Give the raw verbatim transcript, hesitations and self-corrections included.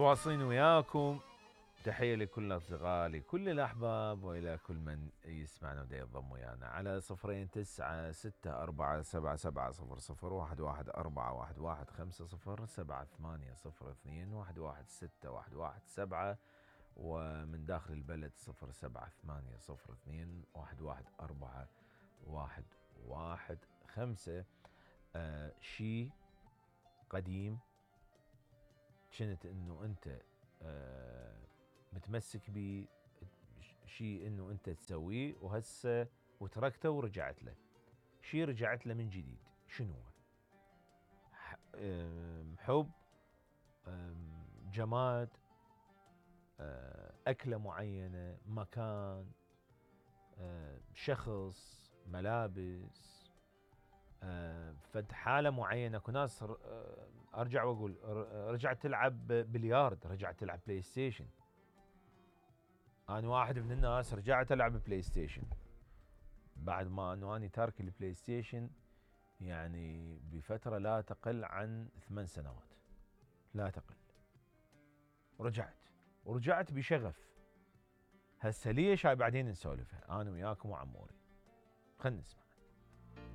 متواصلين وياكم. تحية لكل الأصدقاء، لكل الأحباب، وإلى كل من يسمعنا ودا ينضم ويانا على صفرين تسعة ستة أربعة سبعة سبعة صفر صفر واحد واحد أربعة واحد واحد خمسة صفر سبعة ثمانية صفر اثنين واحد واحد ستة واحد واحد سبعة، ومن داخل البلد صفر سبعة ثمانية صفر اثنين واحد واحد أربعة واحد واحد خمسة. آه شي قديم كنت انه انت آه متمسك بيه، شيء انه انت تسويه وهسه وتركته ورجعت له، شيء رجعت له من جديد، شنو هو؟ حب، جماد، أكلة معينة، مكان، شخص، ملابس، فد حالة معينة. اكو ناس ارجع واقول رجعت تلعب بليارد، رجعت تلعب بلاي ستيشن. انا واحد من الناس رجعت العب بلاي ستيشن بعد ما انه اني تارك البلاي ستيشن يعني بفترة لا تقل عن ثمان سنوات، لا تقل. ورجعت ورجعت بشغف. هسه ليش؟ هاي بعدين نسولفها انا وياكم وعموري. خلنا نسمع.